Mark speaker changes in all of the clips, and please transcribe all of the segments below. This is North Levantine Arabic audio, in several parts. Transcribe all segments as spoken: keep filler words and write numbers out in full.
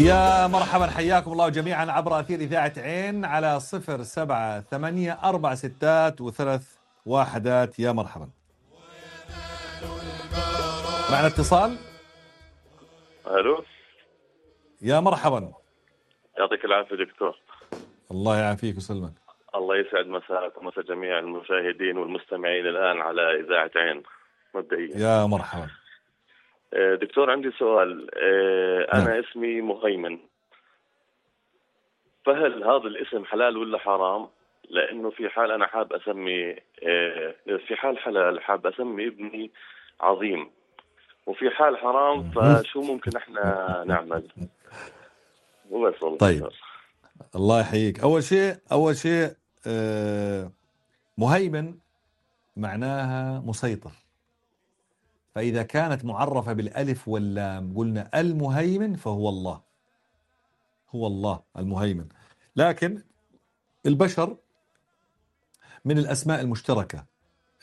Speaker 1: يا مرحبا، حياكم الله جميعا عبر أثير إذاعة عين على صفر سبعة ثمانية أربع ستات وثلاث واحدات. يا مرحبا. معنا اتصال.
Speaker 2: الو،
Speaker 1: يا مرحبا.
Speaker 2: يعطيك العافيه دكتور.
Speaker 1: الله يعافيك ويسلمك.
Speaker 2: الله يسعد مساك ومسا جميع المشاهدين والمستمعين الان على اذاعه عين. مبدئيا
Speaker 1: يا مرحبا
Speaker 2: دكتور، عندي سؤال. انا نعم. اسمي مهيمن، فهل هذا الاسم حلال ولا حرام؟ لانه في حال انا حاب اسمي في حال حلال حاب اسمي ابني عظيم، وفي حال حرام فشو ممكن احنا نعمل؟ وبس والله.
Speaker 1: طيب دكتور. الله يحييك. اول شيء اول شيء آه مهيمن معناها مسيطر، فإذا كانت معرفة بالألف واللام قلنا المهيمن فهو الله، هو الله المهيمن. لكن البشر من الأسماء المشتركة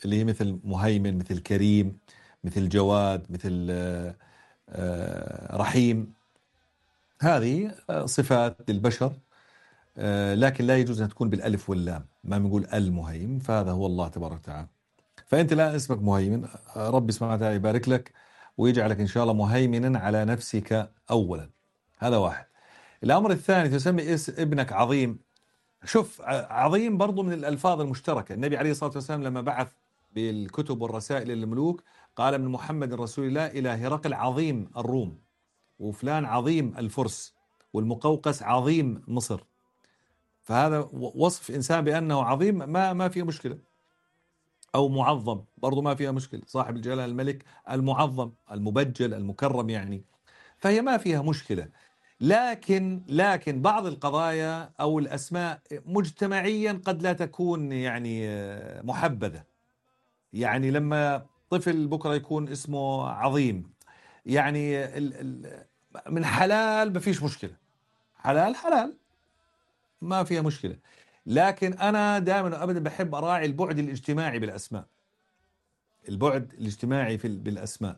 Speaker 1: اللي هي مثل مهيمن، مثل كريم، مثل جواد، مثل رحيم، هذه صفات للبشر، لكن لا يجوز أن تكون بالألف واللام. ما بنقول المهيمن، فهذا هو الله تبارك وتعالى. فأنت الآن اسمك مهيمن، ربي سبحانه وتعالى يبارك لك ويجعلك إن شاء الله مهيمنا على نفسك أولا. هذا واحد. الأمر الثاني، تسمي ابنك عظيم. شوف، عظيم برضو من الألفاظ المشتركة. النبي عليه الصلاة والسلام لما بعث بالكتب والرسائل للملوك قال من محمد رسول الله إلى هرقل عظيم الروم، وفلان عظيم الفرس، والمقوقس عظيم مصر. فهذا وصف إنسان بأنه عظيم ما ما فيه مشكلة، أو معظم برضو ما فيها مشكلة، صاحب الجلالة الملك المعظم المبجل المكرم يعني، فهي ما فيها مشكلة. لكن لكن بعض القضايا أو الأسماء مجتمعيا قد لا تكون يعني محبذة. يعني لما طفل بكرة يكون اسمه عظيم، يعني من حلال ما فيش مشكلة، حلال حلال ما فيها مشكلة. لكن أنا دائما أبدا بحب أراعي البعد الاجتماعي بالأسماء، البعد الاجتماعي في بالأسماء.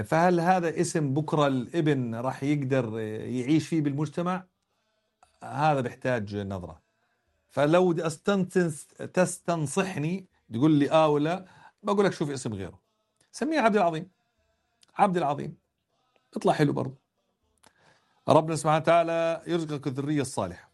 Speaker 1: فهل هذا اسم بكرة الابن راح يقدر يعيش فيه بالمجتمع؟ هذا بيحتاج نظرة. فلو تستنصحني تقول لي آه ولا، بقول لك شوف اسم غيره، سميه عبد العظيم. عبد العظيم اطلع حلو برضه. ربنا سبحانه وتعالى يرزقك الذرية الصالحة.